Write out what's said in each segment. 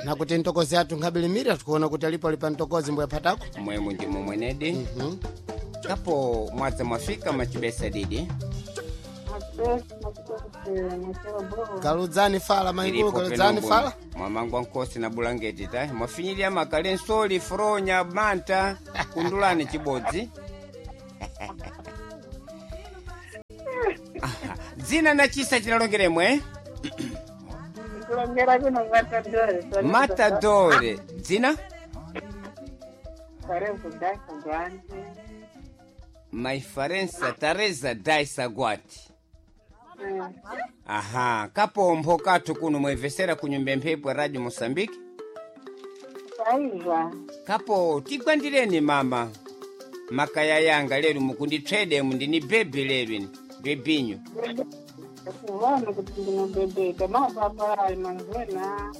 Nakuti ntokozi athu nkhabilimira tikuona kuti alipo ali pa ntokozi mbuya phatako. Mwemu ndimo mwenedi. Kapo mwadza mwafika machibesa didi. Kaludzani fala maikulu, Ilipo kaludzani penombo. fala. Mwamangwa nkosi na bulangeti ta mwafinyirya makale nsoli fronya manta kundulani chibodzi. Aha. Dzina na chisa chilalongeremwe. Kulongera kuno Matadore. Matadore dzina. Karevu dasa gwanti. Maifarensa Teresa Daisa Gwati. Aha, kapo kathu kuno mwevesera kunyumba mphepo ya Radio Mosambiki. Saiva. Kapo tigwandireni mama. Makaya yanga lero mukunditswedemu ndini bebe lero ini bebinyo. Kuona kuti ndinobebeka mapapa ali manzena.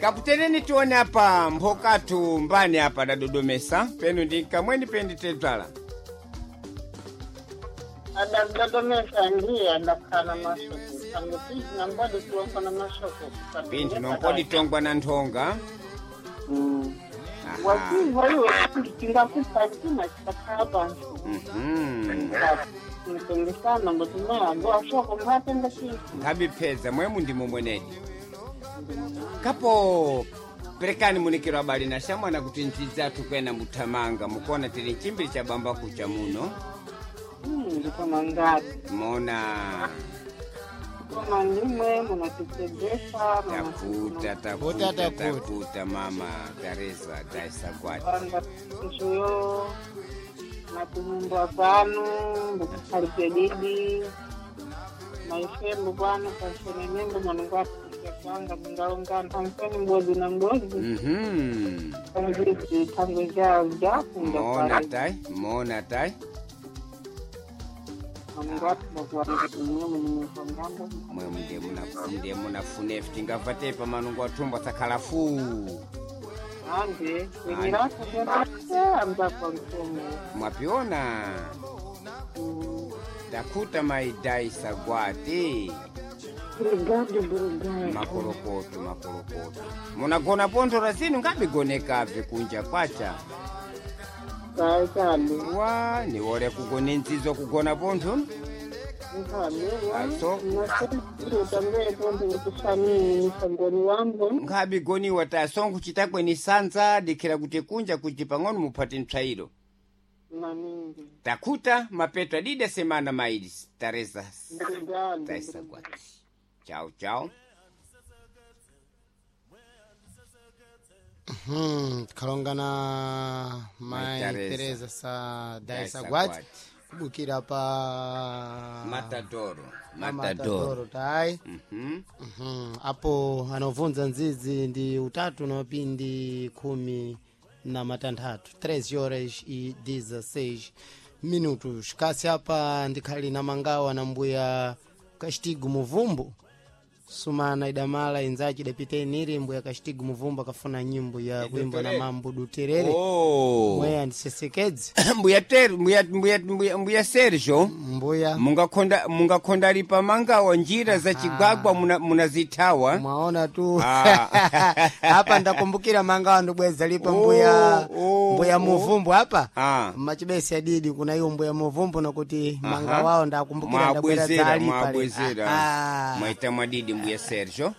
Kaputeneni tione apa mphokathu mbani apa dadodomesa penu ndi kamweni pendi tedzala. Adadodomesa ndiye andakhala mashoko. Tanguti nambodi tuwafana mashoko. Pinthu nompodi tongwa na nthonga. Aha. Wachiva iwe tingakupa chima chikakhala pansi. Mtengesana ngoti maambo ashoko mwatenga chinthu. Nkhabipfeza mwemu ndimo mwenedi. Kapo perekani munikiro abali na shamwana kuti ndzidzi athu kwena muthamanga mukuona tili nchimbiri cha bamba kucha muno. Ndikoma ngati. Mona. Koma ndimwe munatitsegesa. Takuta Takuta, takuta takuta. takuta mama Teresa Daisagwati. Vanga njuyo matinyumba pano mbukhalike didi maifembo pano pansenenembo manungwatikwanga mungalongana panseni mbodzi na mbodzi. Pangwizi thangwe jakunda. Mona tai, mona tai. Manungwati makuwangaimwe munimufangamba. Mwe ndiye muna ndiye munafune tingavate pa manungo athumbo tsakhala fu. Ande wenirasa ambakwa msomo. Mwapiona. Takuta mai Daisagwati. Burugado burugado. Makolokoto makolokoto. Munagona ponthora zinu ngabigonekabve kunja kwacha. Kaikale. Wa niwole kugona nzizo kugona pontho. Aso. Nkhabigoniwa tasongo chitakweni sanza dikhira kuti kunja kuti pang'ono muphate mtswairo. Takuta mapeto adida semana maidi Teresa Daisagwati. Chao chao. Kalongana Mai mai Teresa. Teresa sa Daisa Daisa Gwati Gwati. kubukira pa Matadoro. pa Matadoro. tai. Apo anovunza nzizi ndi utatu na mapindi 16, 3 horas e 16 minutos. Kasi apa ndikhali na mangawa na mbuya Castigo Muvumbu sumana idamala inzachi idapita mbuya Castigo Muvumbu akafuna nyimbo ya kuimba na mambo duterere. Oh. Mweya andisesekedze. Mbuya ter mbuya mbuya mbuya, mbuya Sergio. Mbuya. Mungakonda lipa mangawa njira za chigwagwa munazithawa. Mwaona tu. Ah. Apa ndakumbukira mangawa ndibweza lipa Oh, mbuya oh, mbuya oh. muvumbu apa. Ah. Machibesi adidi kuna iyo mbuya muvumbu nokuti Aha. manga wao ndakumbukira ndabwera Mwabwezera dzalipa. mwabwezera. Mwaita mwadidi mbuya Sergio.